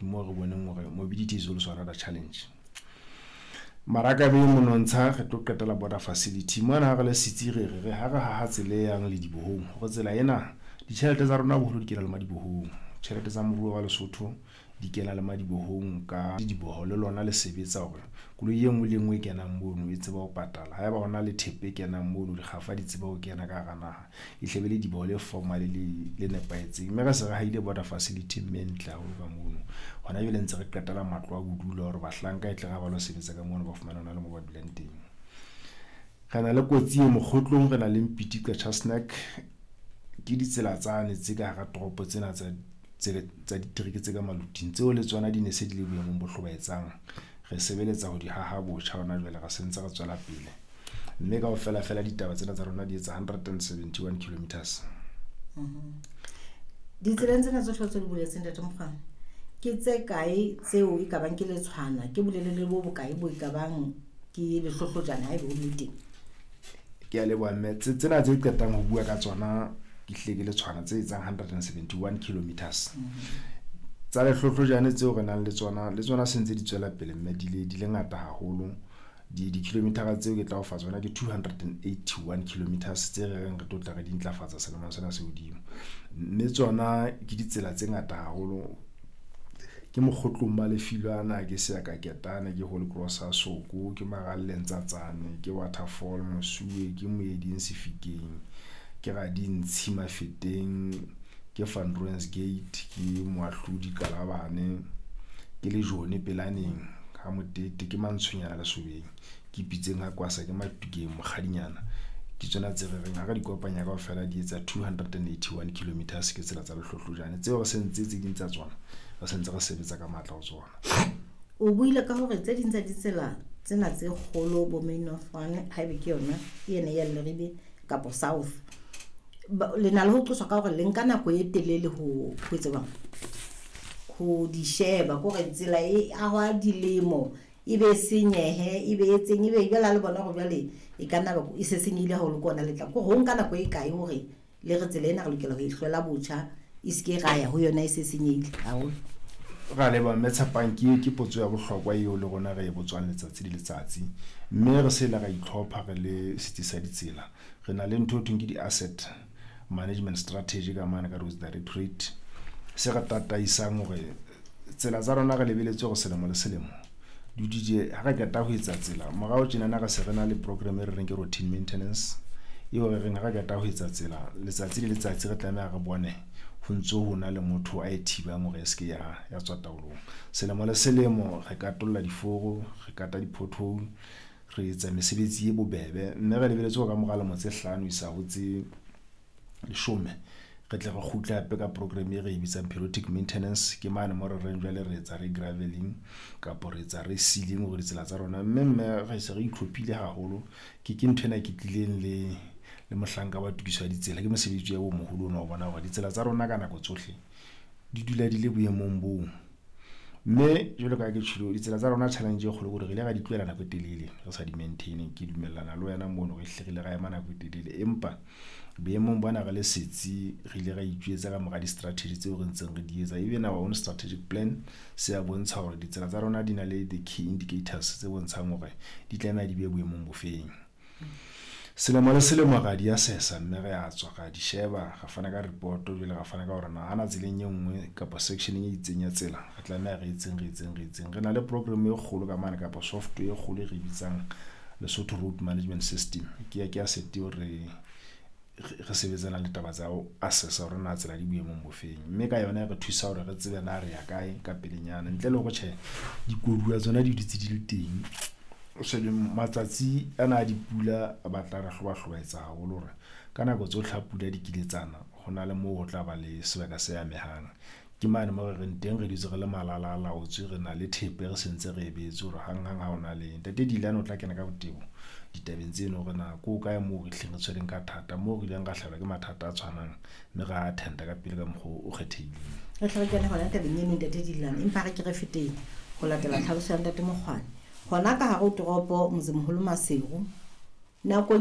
moo re boneng hore mobility is also another challenge. Maraka be monontsha re tlo qetela border facility mona ha re le setsi, re re ha re haha tsela e yang ledibohong, hore tsela ena ditjhelete tsa rona boholo di kena le madibohong. Tjhelete tsa moruo wa Lesotho di kena le madibohong ka diboho, le lona le sebetsa hore koloi e nngwe le e nngwe e kenang mono e tseba ho patala. Haeba hona le thepa e kenang mono, dikgafa di tseba ho kena ka hara naha, e hle be lediboho le formal le nepahetseng. Mme re se re hahile border facility mme e ntle haholo ka mono. Hona jwale ntse re qetela matlo a bodulo hore bahlanka e tle re ba lo sebetsa ka mono, ba fumane hona le moo ba dulang teng. Re na le kotsi e Mokgotlong, re na le Mpiti Qacha's Nek. Ke ditsela tsane tse ka hara toropo tsena tsa ditereke tse ka maluting, tseo le tsona di ne se di le boemong bo hlobaetsang. Re sebeletsa ho di haha botjha hona jwale, re sentse re tswela pele, mme kaofela fela ditaba tsena tsa rona di etsa 171 kilometers. Ditseleng tsena tsohle tse di boletseng, Ntate Mokgwane, ke tse kae tseo e ka bang ke letshwana, ke bolelele bo bokae bo e ka bang ke lehlohlojane haebe ho le teng? Ke a leboha, mme. Tsena tse qetang ho bua ka tsona ke hlile ke letshwana tse etsang 171 kilometers. Tsa lehlohlojane tseo re nang le tsona, le tsona se ntse di tswela pele, mme di le ngata haholo. Di-kilometer tseo ke tla o fa tsona ke 281 kilometers tse re reng re tlo tla re di ntlafatsa selemong sena se hodimo, mme tsona ke ditsela tse ngata haholo. Ke Mokgotlong ba Lefilwana, ke Seaka Ketane, ke Holy Cross Soko, ke Maralleng Tsatsane, ke Waterfall Mosuwe, ke Moeding Sefikeng, ke Radintshi Mafeteng, ke Van Rooyen's Gate, ke Moahlodi Kalabane, ke Lejone Pelaneng ha Motete, ke Mantshonyana Lesobeng, ke Pitseng ha Kwasa, ke Matukeng Mokgadinyana. Ke tsona tse re reng ha re di kopanya kaofela di etsa 281 kilometers. Ke tsela tsa lehlohlojane tseo re sentse, tse ding tsa tsona re sentse re sebetsa ka matla ho tsona. O buile ka hore tse ding tsa ditsela tsena tse kgolo, bo Main North One, haebe ke yona ke ene ya Leribe kapo South, le na le ho qoswa ka hore le nka nako e telele ho etsa jwang, ho di sheba, ke hore tsela e ahwa dilemo e be senyehe, e be etseng, e be jwale ha le bona hore jwale e ka nna e se senyehile haholo, ke ona le tla ke ho nka nako e kae hore le re tsela ena re lokela ho e hlwela botjha, e se ke ra ya ho yona e se senyehile haholo? Ra leboha, mme Tshepang. Ke potso ya bohlokwa eo le rona re e botswang letsatsi le letsatsi, mme re se le ra itlhopha re le setsi sa ditsela. Re na le ntho e thweng ke di-asset management strategy ka mane ka Roads Directorate, se re tataisang hore tsela tsa rona re lebeletse hore selemo le selemo di ha re qeta ho etsa tsela. Morao tjenana re se re na le program e re reng ke routine maintenance, eo re reng ha re qeta ho etsa tsela, letsatsi le letsatsi re tlameha re bone ho ntso ho na le motho a e thibang hore e se ke ya tswa taolong. Selemo le selemo re katolla diforo, re kata di-pothole, re etsa mesebetsi e bobebe, mme re lebeletse hore ka mora lemo tse 5 isa ho tse 10 re tle re kgutle hape ka program e re e bitsang periodic maintenance. Ke mane mo re reng jwale re etsa re graveling kapo re etsa re sealing hore ditsela tsa rona, mme re se re itlhophile haholo. Ke ntho ena ke tlileng le mohlanka wa tokiso ya ditsela, ke mosebetsi wa bo moholo ona ho bona hore ditsela tsa rona ka nako tsohle di dula di le boemong boo. Mme jwalo ka ha ke tjholo, ditsela tsa rona challenge e kgolo ke hore re ile ra di tlohela nako e telele re sa di maintain. Ke dumellana le wena mono, re hle re ile ra ema nako e telele, empa boemong bona re le setsi re ile ra itjwetsa ka mora di-strategy tseo re ntseng re di etsa. Even our own strategic plan se a bontsha hore ditsela tsa rona di na le the key indicators tse bontshang hore di tlameha di be boemong bofeng. Selemo le selemo ra di assessa, mme re a tswa ra di sheba, ra fana ka report. Jwale ra fana ka hore na hana tseleng e nngwe kapa sectioneng e itseng ya tsela re tlameha re etseng, re etseng, re etseng. Re na le program e kgolo ka mane kapa software e kgolo e re bitsang Lesotho Road Management System. Ke asset eo re sebetsanang le taba tsa ho assessa hore na tsela di boemong bofeng, mme ka yona e re thusa hore re tsebe na re ya kae ka pelenyana, ntle le hore tjhe dikoduwa tsona di dutse di le teng. Shebe matsatsi ana a dipula a batla re hloba-hlobaetsa haholo hore ka nako tsohle ha pula di kiletsana ho na le moo ho tla ba le sebaka se amehang. Ke mane mo re reng teng re dutse re le malala a laotswe, re na le thepe re sentse re e beetse hore hang-hang ha hona le ntate Dilane o tla kena ka botebo ditabeng tseno hore na ko kae moo re hleng re tshwereng ka thata, moo re ileng ra hlahelwa ke mathata a tshwanang, mme ra attenda ka pele ka mokgwa o kgethehileng. Re tle re kene hona tabeng eno, ntate Dilane, empa re ke re feteng ho latela tlhaloso ya ntate Mokgwane hona ka hare ho toropo motsemoholo Maseru nakong.